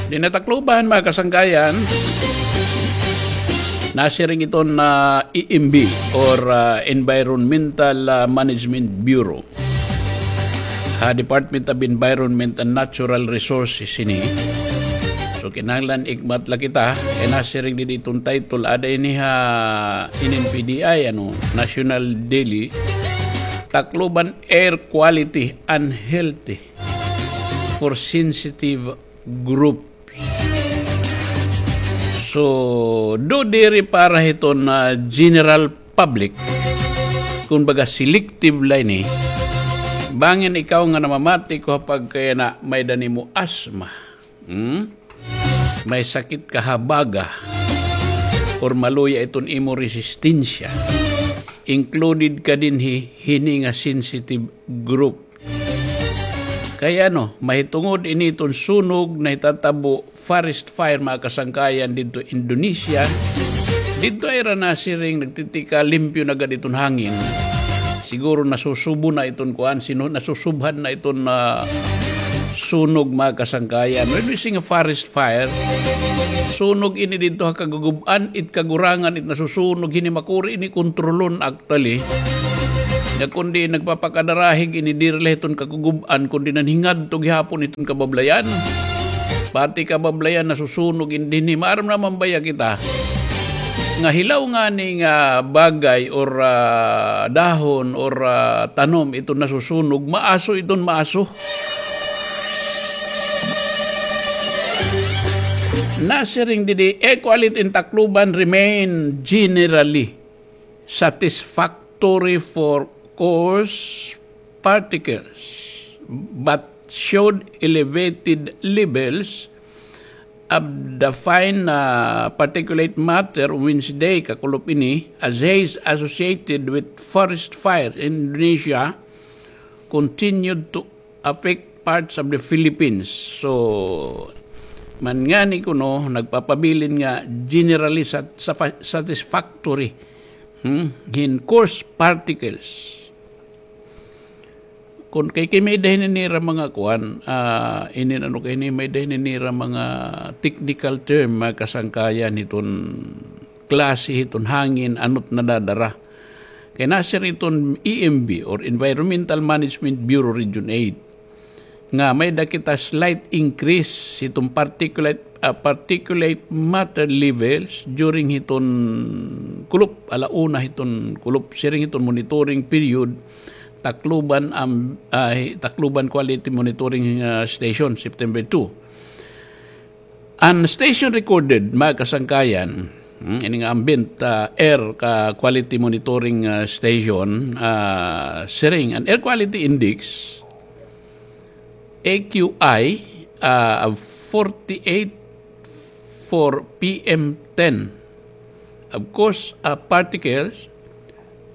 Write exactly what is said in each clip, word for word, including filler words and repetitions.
Dinhi ha Tacloban, mga kasangkayan, nasiring iton na E M B or, ah, Environmental, ah, Management Bureau. Ha Department of Environment and Natural Resources ini. So, kinahanglan ikmat la kita, kay nasiring didi iton title, ada ini ha inin P D I, ano, National Daily, Tacloban Air Quality Unhealthy for Sensitive Groups. So, do diri para hiton, ah, general public, kun baga selective la ini, bangin ikaw nga namamati ko ha pagkayana may-ada nimo asthma, hmm? May sakit ka ha baga, or maluya iton imo resistensya, included ka dinhi hini nga sensitive group. Kay ano, mahitungod ini iton sunog nahitatabo, forest fire, mga kasangkayan, didto Indonesia. Didto ay ra nasiring nagtitika limpyo na gad iton hangin. Siguro nasusubo na iton kuan, sino, nasusubhan na iton, ah, sunog, mga kasangkayan. When we sing a forest fire, sunog ini didto ha kagugub-an, it kagurangan, it nasusunog, hini makuri ini kontrolon, actually. Nga kundi nagpapakadarahig ini diri la hiton kagugub-an, kundi nanhingadto gihapon iton kabablayan. Pati kabablayan nasusunog ini dinhi. Maaram naman baya kita nga hilaw ngani nga bagay or, ah, dahon or, ah, tanom iton nasusunog, maaso iton maaso. Nasiring didi, air quality in Tacloban remain generally satisfactory for coarse particles, but showed elevated levels of the fine, uh, particulate matter Wednesday, kakulop ini, as haze associated with forest fire in Indonesia continued to affect parts of the Philippines. So, man ngani kuno, nagpapabilin nga generally sat-, safa-, satisfactory, hmm, hin coarse particles. Kun kay, kay may-ada hini nira mga kuan, ah, inin ano kay ini, may-ada hini nira mga technical term, mga kasangkayan hiton klase hiton hangin, ano it nadadara. Kay nasiring hiton E M B or Environmental Management Bureau Region eight nga may-ada kita slight increase hiton particulate, ah, particulate matter levels during hiton kulop, ala una hiton kulop, siring hiton monitoring period, Tacloban, am-, ah, Tacloban Quality Monitoring, ah, Station, September two. An station recorded, mga kasangkayan, hmm, ini nga ambient, ah, air ka quality monitoring, ah, station, ah, siring, an air quality index, A Q I, ah, of forty-eight for P M ten, of course, ah, particles,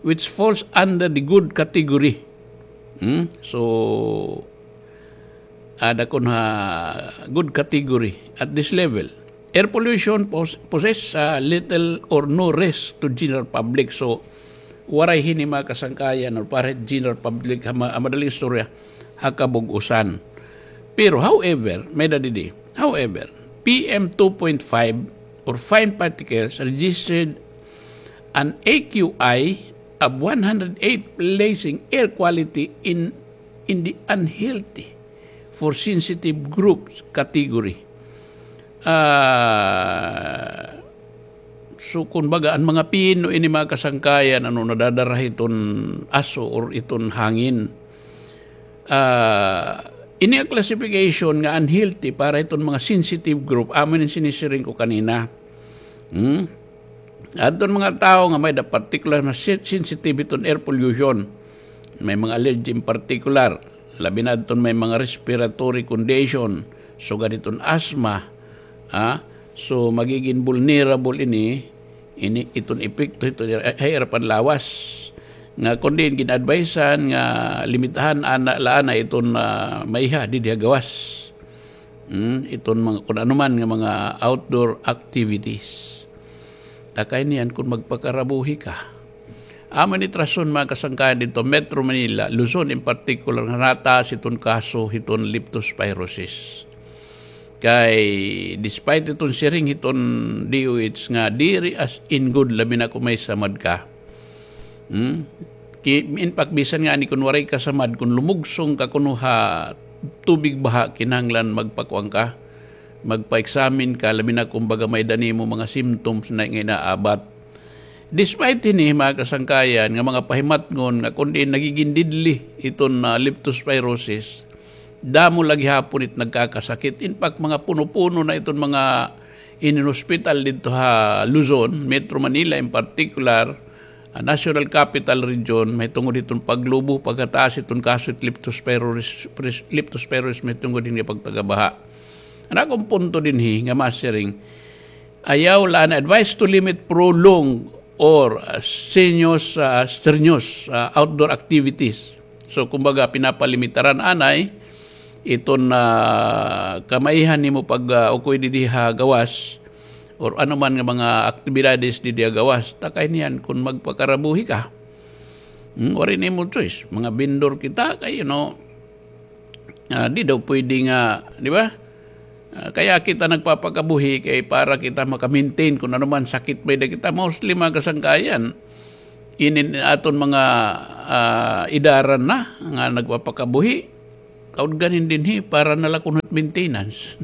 which falls under the good category. Hmm? So, ada kon ha good category at this level. Air pollution pos-, poses, ah, little or no risk to general public. So, waray hini mga kasangkayan or para general public ha ma-, ha madaling istorya, ha kabug-osan. Pero, however, may-ada didi, however, P M two point five or fine particles registered an A Q I of one hundred eight, placing air quality in, in the unhealthy for sensitive groups category. Ah, so, kun baga, an mga pino ini mga kasangkayan, ano, nadadara hiton aso or iton hangin. Ah, ini nga classification nga unhealthy para iton mga sensitive group, amo ini sinisiring ko kanina. Hmm? Adton mga tawo nga may-ada particular nga sen-, sensitive hiton air pollution. May mga allergy in particular. Labi na adton may mga respiratory condition. Sugad hiton asthma. Ah, so, magiging vulnerable ini, ini iton epekto hiton ha ira panlawas. Nga kon diin gin-advisean nga limitahan ana la anay iton, ah, maiha didi ha gawas. Hmm, iton mga, kun ano man nga mga outdoor activities. Takay niyan kun magpakarabuhi ka. Amo ini it rason, mga kasangkayan, didto Metro Manila, Luzon in particular, nga nataas iton kaso hiton leptospirosis. Kay despite iton siring hiton D O H nga diri as in good, labi na kon may samad ka. Hmm? Ki-, in fact, bisan ngani kon waray ka samad, kon lumugsong ka kuno ha tubig baha, kinahanglan magpakuan ka, magpa-examine ka, labi na kon baga may-ada nimo mga symptoms na nga inaabat. Despite hini, mga kasangkayan, nga mga pahimatngon nga kon diin nagigin deadly iton, ah, leptospirosis, damo la gihapon it nagkakasakit. In fact, mga puno-puno na iton mga inin hospital didto ha Luzon, Metro Manila in particular, ah, National Capital Region, mahitungod hiton paglubo, pagkataas iton kaso it leptospirosis, leptospirosis mahitungod hini pagtagabaha. An akon punto dinhi nga masiring, ayaw la an advice to limit prolonged or, ah, strenuous, ah, strenuous, ah, outdoor activities. So, kumbaga, pinapalimitaran anay iton, ah, kamaihan nimo pag, ah, ukoy didi ha gawas or ano man nga mga aktibidades didi ha gawas, ta kay niyan kon magpakarabuhi ka. Hmm, waray nimo choice. Mga vendor kita, kay, you know, ah, di daw pwede nga, di ba? Ah, kaya kita nagpapakabuhi kay para kita maka-maintain kon ano man sakit may-ada kita. Mostly, mga kasangkayan, inin aton mga, ah, idaran na nga nagpapakabuhi, kaudgan hin dinhi para na la kuno maintenance.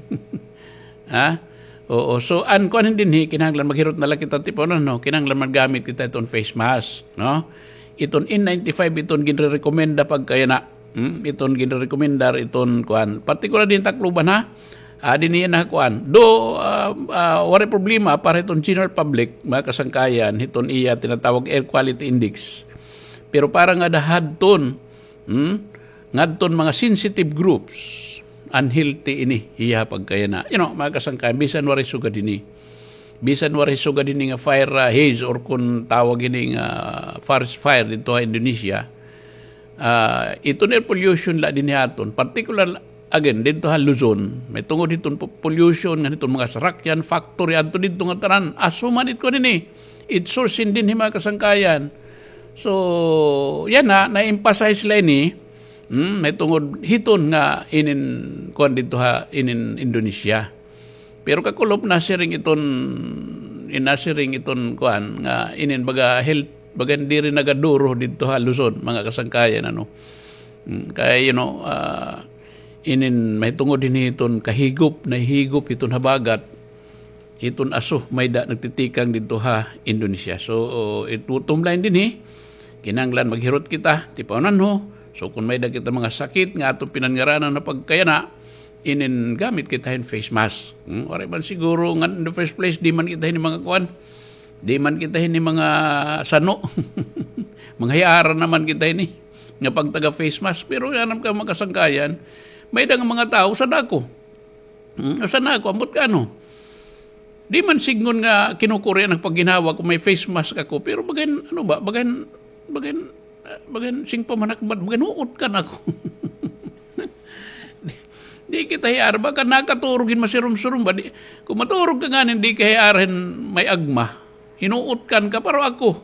Ha? Oo. So, an kuan hin dinhi, kinahanglan maghirot na la kita, tipanon, no? Kinahanglan maggamit kita iton face mask, no? Iton N ninety-five, iton ginrerekomenda pagkayana. Hmm? Iton ginrerekomendar, iton kuan. Partikular dinhi Tacloban, ha? Ah, dinhi na kuan. Do, ah, ah, waray problema para iton general public, mga kasangkayan, hiton iya tinatawag air quality index. Pero para ngada hadton, hmm? Ngadton mga sensitive groups, unhealthy ini, iya pagkayana. You know, mga kasangkayan, bisan waray sugad ini. Bisan waray sugad ini nga fire, ah, haze or kon tawag ini nga forest fire didto ha Indonesia. Ah, iton air pollution la dinhi aton. Particular, again, didto ha Luzon. Mahitungod hiton po-, pollution, ngan hiton mga sarakyan, factory, adto didto nga tanan. Asuman it kuan ini. It source hin dinhi, mga kasangkayan. So, yana, na-emphasize la ini, hmm, mahitungod hiton nga inin, kuan didto ha, inin Indonesia. Pero kakulop nasiring iton, in nasiring iton kuan nga inin baga health, baga diri nagaduro didto ha Luzon, mga kasangkayan, ano. Hmm, kay, you know, ah, inin mahitungod dinhi iton kahigop, nahihigop iton habagat, iton aso may-ada nagtitikang didto ha Indonesia. So, it bottom line dinhi, kinahanglan maghirot kita, tipaonan ho. So, kon may-ada kita mga sakit nga aton pinanngaranan nga pagkayana, inin gamit kita hin face mask. Hmm? Waray man siguro, nga in the first place, di man kita hini mga kuan. Di man kita hini mga sano. Mga hiyaran naman kita hini. Nga pagtaga face mask. Pero yana ka mga kasangkayan, may-ada nga mga tawo, usa na ako. Hmm? Usa na ako, ambot ka ano. Di man sidngon nga kinukuri an pagginhawa kon may face mask ako. Pero bagan, ano ba, bagan, bagan, ah, bagan, sing pamanakbat, bagan huot kan ako. Di, di kita hiyara, baga nakaturog hin masirum-surum ba? Di, kon maturog ka nganin, di ka hiyara hin may agma. Hinuot kan ka, pero ako.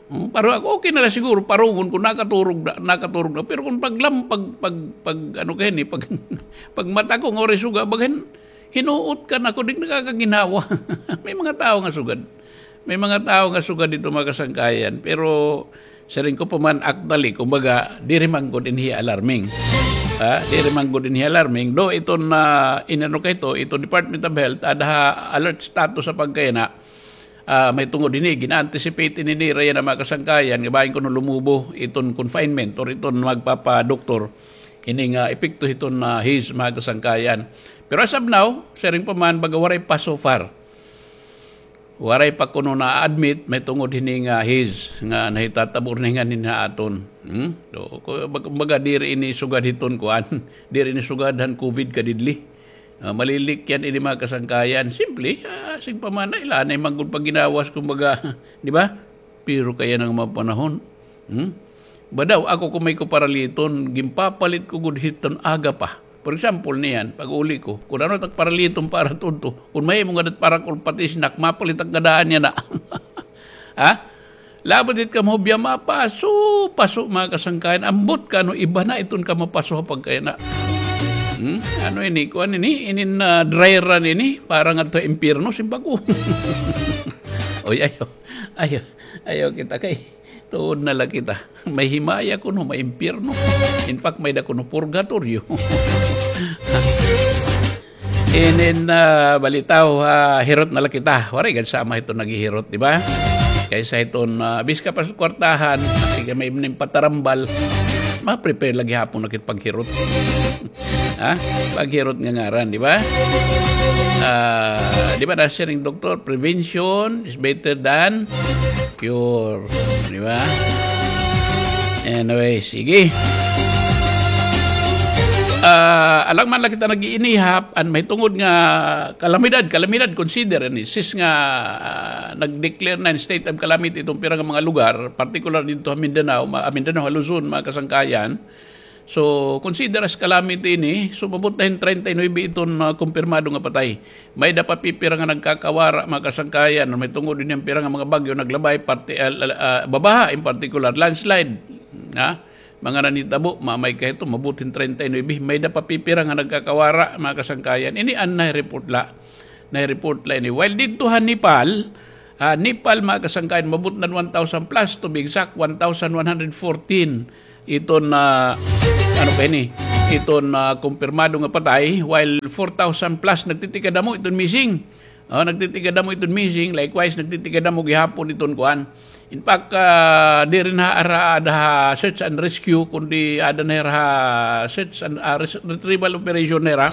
Hmm, pero ako, okay na la siguro, parungon kon nakaturog na, nakaturog na. Pero kon paglam-, pag, pag, pag, ano ka hini, pag, pagmata ko, nga waray suga, bagan, hinuot kan ako, di nakakaginhawa. May mga tawo nga sugad. May mga tawo nga sugad didto, mga kasangkayan. Pero, siring ko pa man, actually, kumbaga, diri man gud dinhi alarming. Ha? Diri man gud dinhi alarming. Do, iton, ah, inano kay ito, iton Department of Health, ada ha alert status ha pagkayana. Ah, mahitungod hini, gina-anticipate ini nira yana mga kasangkayan, nga bahin kuno lumubo iton confinement or iton magpapadoktor. Ini nga epekto hiton, ah, haze mga kasangkayan. Pero as of now, siring pa man, baga waray pa so far. Waray pa kuno na-admit mahitungod hini nga haze nga nahitatabo na nganin ha aton. Hmm? So, ku-, bag-, kumbaga, diri ini sugad hiton kuan, diri ini sugad han COVID ka deadly. Ah, malilikyan ini mga kasangkayan. Simple, ah, sing pamana, ila na man gud pagginhawa, kumbaga, di ba? Pero kay yana nga mga panahon. Hmm? Badaw, ako kon may ko paraliton, ginpapalit ko gud hiton aga pa. For example, niyan, pag-uli ko, kon ano it ak paraliton para tudto, kon mahimo nga dat para ko pati snack, mapalit ak nga daan yana. Ha? Labot it ka mahubya, mapaso, paso, mga kasangkayan. Ambot ka, ano, iba na iton ka mapaso ha pagkayana. Hmm? Ano ini? Kuan ini? Inin, ah, dry run ini? Para ngadto ha impyerno, simbag ko. Oy, ayaw. Ayaw. Ayaw kita kay tuod na la kita. May himaya kuno, may impyerno. In fact, may-ada kuno purgatoryo. Inin, ah, balitaw, ah, hirot na la kita. Waray gad sama hiton naghihirot, di ba? Kaysa hiton, ah, biska pa sa kwartahan, sige, may nim patarambal, ma-prepare la gihapon na kit paghirot. Ha? Paghirot nga ngaran, di ba? Ah, di ba nasiring doktor, prevention is better than cure. Di ba? Anyway, sige. Ah, alang man la kita nag-iinihap, an mahitungod nga kalamidad, kalamidad, consider ini. Since nga, ah, nag-declare na in state of calamity iton pira nga mga lugar, particular didto ha Mindanao, ma-, ah, Mindanao, ha Luzon, mga kasangkayan. So, consider as calamity ini. So, umabot na hin treinta y nuebe iton, ah, kumpirmado nga patay. May-ada pa pipira nga nagkakawara, mga kasangkayan, mahitungod ini an pira nga mga bagyo naglabay, parte, ah, ah, babaha in particular, landslide, ha? Mga nanitabo, mamay ka hito, umabot hin treinta y nuebe. May-ada pa pipira nga nagkakawara, mga kasangkayan. Ini an nahi-report la. Nahi-report la ini. While didto ha Nepal, ha, Nepal, mga kasangkayan, umabot na one thousand plus, to be exact, one thousand one hundred fourteen. Iton, ah, ano pa ini? Iton, ah, kumpirmado nga patay, while four thousand plus nagtitikadamo iton missing. Oh, nagtitikadamo iton missing, likewise, nagtitikadamo gihapon iton kuan. In fact, ah, diri na hira aada ha search and rescue, kundi aada na hira ha search and, ah, res-, retrieval operation na hira.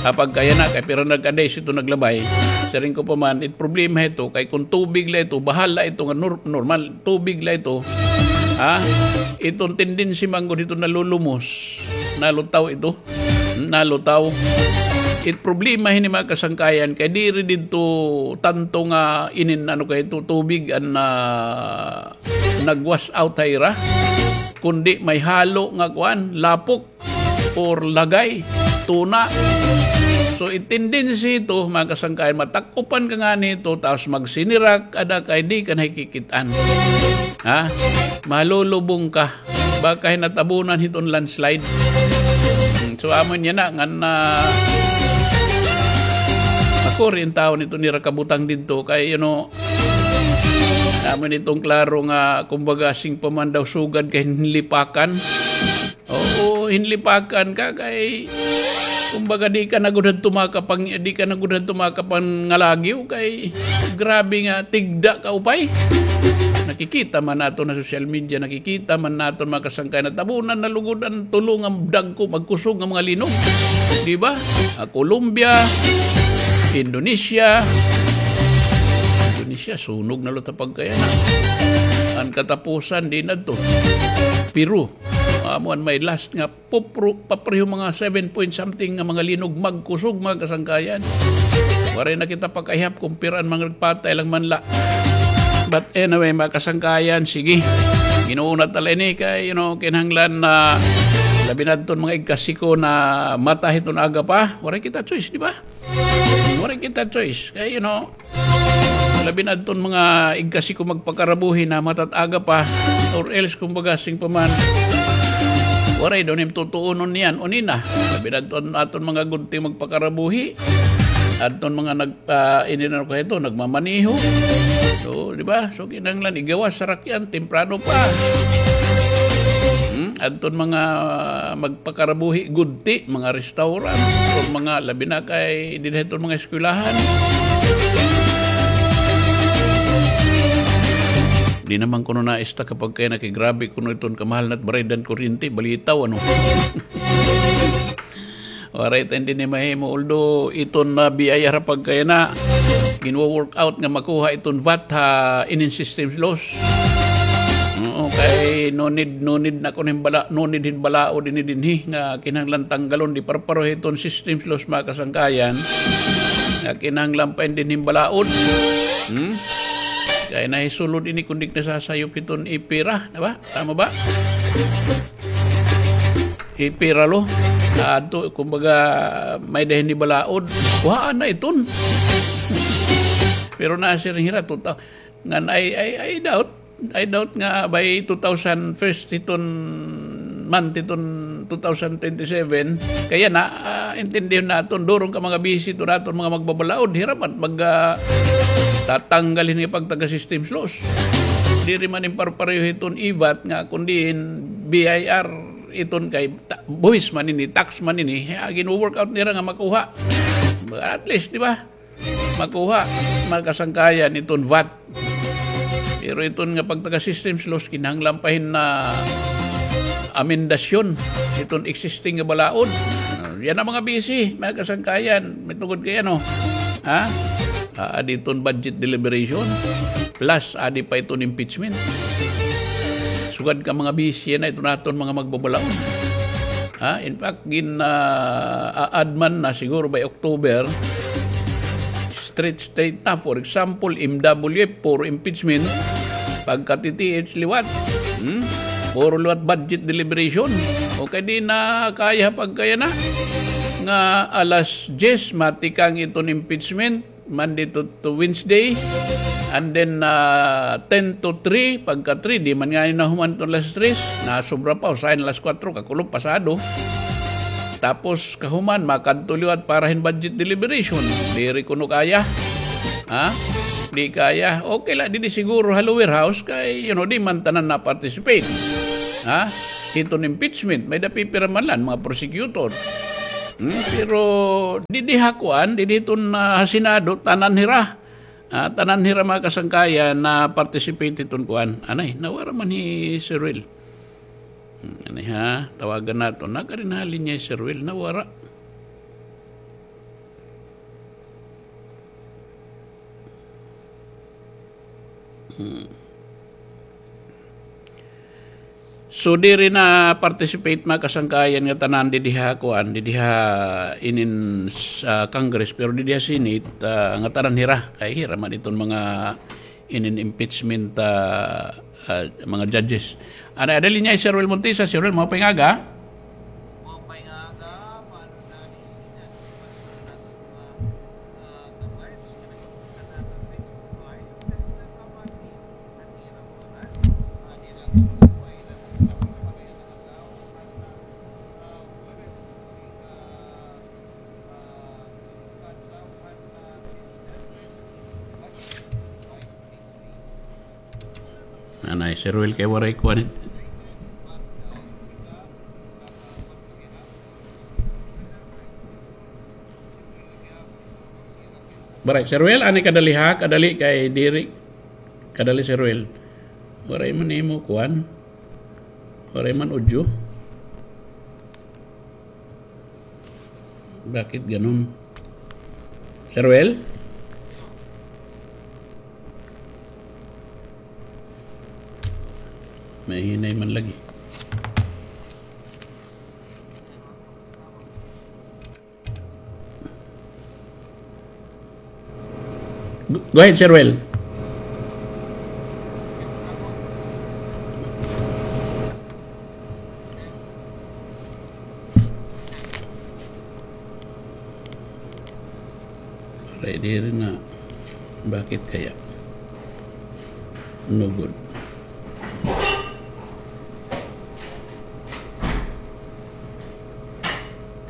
Ah, pagkayana, kay pira nagka-days iton naglabay. Siring ko pa man, it problema hito, kay kon tubig la ito, bahal la ito nga nor-, normal, tubig la ito. Ha? Iton tendency man gud hito nalulumos, nalutaw ito. Nalutaw. It problema hini, mga kasangkayan, kay diri didto tanto nga inin ano kay ito tubig an, ah, nag-wash out ha ira, kundi may halo nga kuan, lapok or lagay, tuna. So, it tendency ito, mga kasangkayan, matak-upan ka ngani ito, tapos magsinirak, ada kay di ka nakikit-an. Ha? Malulubong ka. Baka hin natabunan hiton landslide. Hmm, so, amo niya na, ngan, ah, makuri an tawo niton ira kabutang didto kay, you know, amo niton klaro nga, kumbaga, siring pa man daw sugad kay hinlipakan. Oo, hinlipakan ka kay, kumbaga, di ka na gud hadto makapang-, di ka na gud hadto makapangalagiw kay grabe nga tigda ka upay. Nakikita man naton ha social media, nakikita man naton, mga kasangkayan, natabunan na lugod an tulo nga dagko magkusog nga mga linog. Di ba? Ah, Colombia, Indonesia. Indonesia, sunog na luta pagkayana. An katapusan, di na to. Peru. Amo an may last nga papro-, papreho mga seven point something nga mga linog magkusog, mga kasangkayan. Waray na kita pakaihap kung pira an mga nagpatay lang man la. But anyway, mga kasangkayan, sige. Ginuunat ta la ini kay, you know, kinahanglan na labi na adton mga igkasi ko na mata hiton aga pa. Waray kita choice, di ba? Waray kita choice. Kay, you know, labi na adton mga igkasi ko magpakarabuhi na mata hit aga pa, or else, kumbaga, siring pa man, waray daw nim tutuunon niyan, uni na. Labi na adton aton mga gudti magpakarabuhi. Adton mga nag-, ah, ini na ko ito, nagmamaniho. So, di ba? So, kinahanglan igawas sarakyan, temprano pa. Hmm? Adton mga magpakarabuhi, gudti, mga restaurant, o mga labi na kay dida hiton mga eskwelahan. Di naman kuno naista kapag kay nakigrabe kuno iton kamahal na it baraydan kuryente, balitaw, ano? Waray ta indi ini mahimo, although iton na B I R pagkayana, ginwo-work out nga makuha iton vat ha inin systems loss. Oo, kay no need, no need na kuno hin bala-, no need hin balaod ini dinhi nga kinahanglan tanggalon, di parpareho hiton systems loss, mga kasangkayan, nga kinahanglan pa indi hin balaod. Hmm? Kay nahisulod ini kundi nasasayop hiton ipira, di ba? Tama ba? Ipira lo. Adto, kumbaga, may-ada hin balaod. Kuhaan na iton. Pero nasiring hira, tuta-, ngan I, I, I doubt, I doubt nga by two thousand first hiton month iton two thousand twenty-seven. Kay yana, ah, intindihon naton, durong ka mga busy iton aton mga magbabalaod, hira man mag, ah, tatanggal hini pagtaga-system loss. Diri man in parpareho iton E VAT nga kundi in B I R iton kay ta-, buhis man ini, tax man ini, ah, gin-work out nira nga makuha. At least, di ba? Makuha, mga kasangkayan, iton V A T. Pero iton nga pagtaga-system loss, kinahanglan pa hin na amendasyon iton existing nga balaod. Ah, yana mga busy, mga kasangkayan. May tungod kay ano? Ha? Ah, diton budget deliberation. Plus, adi pa iton impeachment. Sugad ka mga busy na iton aton mga magbabalaod. Ha? In fact, gin, ah, a-add man na siguro by October, straight, straight na. For example, M W F, puro impeachment. Pagka T T H liwat. Hmm? Puro liwat budget deliberation. Okay, di na kaya pagkaya na. Nga alas diyes, matikang iton impeachment. Monday to, to Wednesday. And then, ah, ten to three, pagka three, di man ngani nahuman iton alas tres, nasobra pa, usahay na alas kuwatro, kakulop, pasado. Tapos, kahuman, makadto liwat para hin budget deliberation. Diri kuno kaya. Ha? Di kaya. Okay la, didi siguro ha lower house kay, you know, di man tanan na-participate. Ha? Hiton impeachment, may-ada pipira man la mga prosecutor. Hmm, pero didi ha kuan, didi hiton, ah, ha Senado, tanan hira. Ah, tanan hira mga kasangkayan na-participate hiton kuan. Anay, nawara man hi Sir Will. Hmm, anay ha, tawagan naton. Nakarin ha linya hi Sir Will, nawara. Hmm. So, diri na-participate mga kasangkayan nga tanan didi ha kuan, didi ha inin sa Congress, pero didi ha Senate, ah, nga tanan hira, kay hira man iton mga inin impeachment, ah, ah, mga judges. Anay, ada ha linya hi Sir Will Montesa. Sir Will, maupay nga aga. Anay, Sir Will, kay waray kuan it-, Waray, Sir Will, ani kadali ha, kadali kay diri. Kadali, Sir Will. Waray man imo kuan. Waray man audio. Bakit ganun? Sir Will? Mahinay man lagi. Go, go ahead, Sir Will. Waray diri na. Bakit kaya? No good.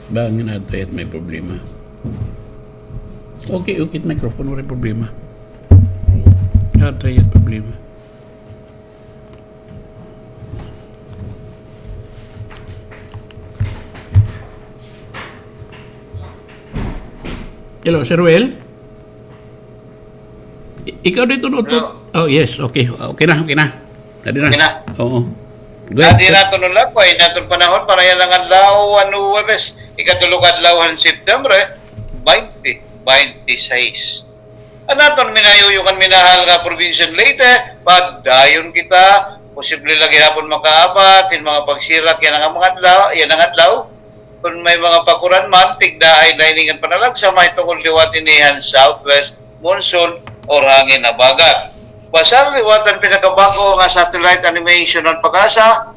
Bangin adto it may problema. Okay, okay, microphone, waray problema. Adto it problema. Hello, Sir Will? I-, ikaw dito, no? Hello. Oh, yes. Okay. Okay na, okay na. Dali na. Okay na. Oo. Go ahead, sir. Dati naton, no, la, kay naton panahon para yana nga adlaw, ano, Huwebes, ikatulo ka adlaw han September, eh, twenty twenty-six. An aton minayuyukan, minahal nga probinsya han Leyte, padayon kita, posible la gihapon makaabat hin mga pagsirak yana nga mga adlaw, yana nga adlaw. Kon may mga pakuran man, tigdaay na ini ngan panalagsa mahitungod liwat ini han southwest monsoon or hangin habagat. Basar liwat an pinakabag-o nga satellite animation han PAGASA,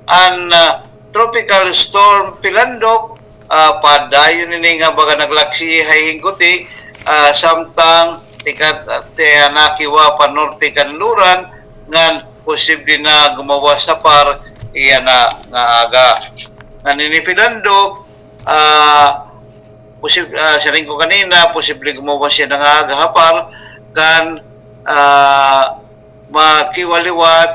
an, ah, Tropical Storm Pilandok, ah, padayon ini nga baga naglaksi ha hingguti, ah, samtang tikat-, ah, tianakiwa pa norte Kanluran, ngan posible na gumawas ha par iya na nga aga. Ngan ini Pilandok, ah, posib-, ah, siring ko kanina, posible gumawas hiya nga aga hapar kan, ah, makiwaliwat,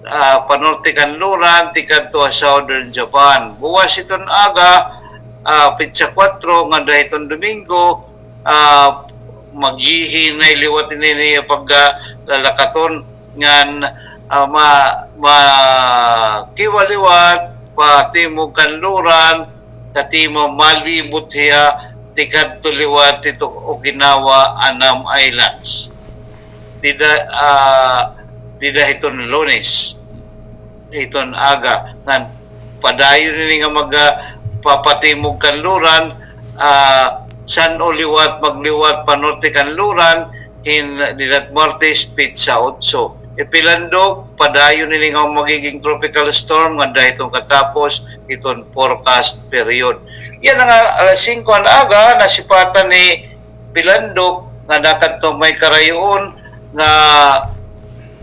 ah, panorte kanluran tikadto ha Southern Japan. Buwas hiton aga, ah, petsa kuwatro, ngada hiton Domingo, ah, maghihinay liwat ini niya paglalakaton ngan, ah, ma-, makiwaliwat patimog kanluran, katima malibot hiya tikadto liwat hito Okinawa, Annam Islands. Dida, ah, dida hiton Lunes, hiton aga, ngan padayon ini nga mag, ah, papatimog kanluran, ah, san-o liwat, magliwat panorte kanluran, hin dida Martes, petsa otso. Ipilandok, padayon ini nga magiging tropical storm ngada hiton katapos hiton forecast period. Yana nga alas singko han aga, nasipatan ni Pilandok nga nakadto may karayoon nga,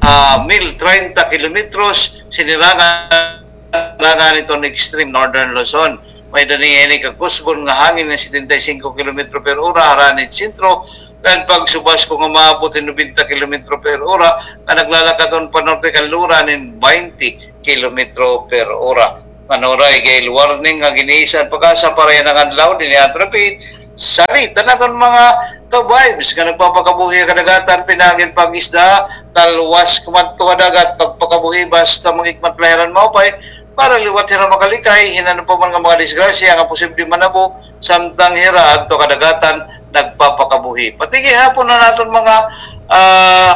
ah, mil treinta kilometros, sinirangan, sinirangan hiton extreme northern Luzon. May-ada niya ini kakusgon nga hangin nga setenta y cinco kilometro per ora, harani hin sentro, ngan pagsubasko nga maabot hin nobenta kilometro per ora, nga naglalakaton panorte kanluran hin baynte kilometro per ora. Ngan waray gale warning nga gin-iisa han PAGASA para yana nga adlaw, dinhi aton repeat, salit an aton mga ka-vibes nga nagpapakabuhi ha kadagatan, pinaagi hin pag-isda, talwas kumadto ha dagat, pagpakabuhi basta manghikmat la hira hin maupay, para liwat hira makalikay hin ano pa man nga mga disgrasya nga posible manabo, samtang hira adto ha kadagatan nagpapakabuhi. Pati gihapon an aton mga, ah,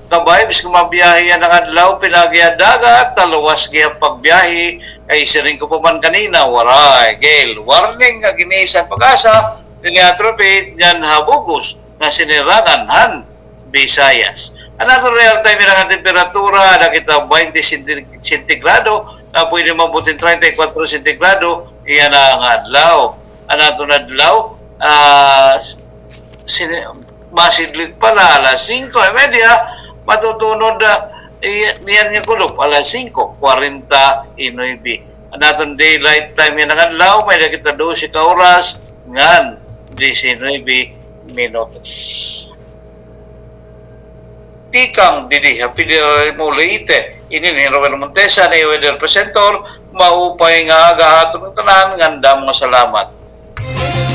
ka-vibes nga mabiyahe yana nga adlaw, pinaagi ha dagat, talwas gihap pagbiyahe, kay siring ko pa man kanina, waray gale warning nga gin-iisa han PAGASA, dinhi aton repeat, ngan ha bug-os nga sinirangan han Visayas. An aton real time yana nga temperatura, ada kita baynte senti-, sentigrado, nga pwede maabot hin treinta y cuatro sentigrado yana nga adlaw. An aton adlaw, ah, sini-, masidlot pa la, alas singko y media, matutunod, ah, i-, niyan nga kulop, alas singko kwarenta y nuebe. An aton daylight time yana nga adlaw, may-ada kita dose ka oras ngan diecinuebe minutos. Tikang didi ha Federal Leyte, ini hi Robert Montesa, an iyo weather presenter. Maupay nga aga ha aton tanan, ngan damo nga salamat.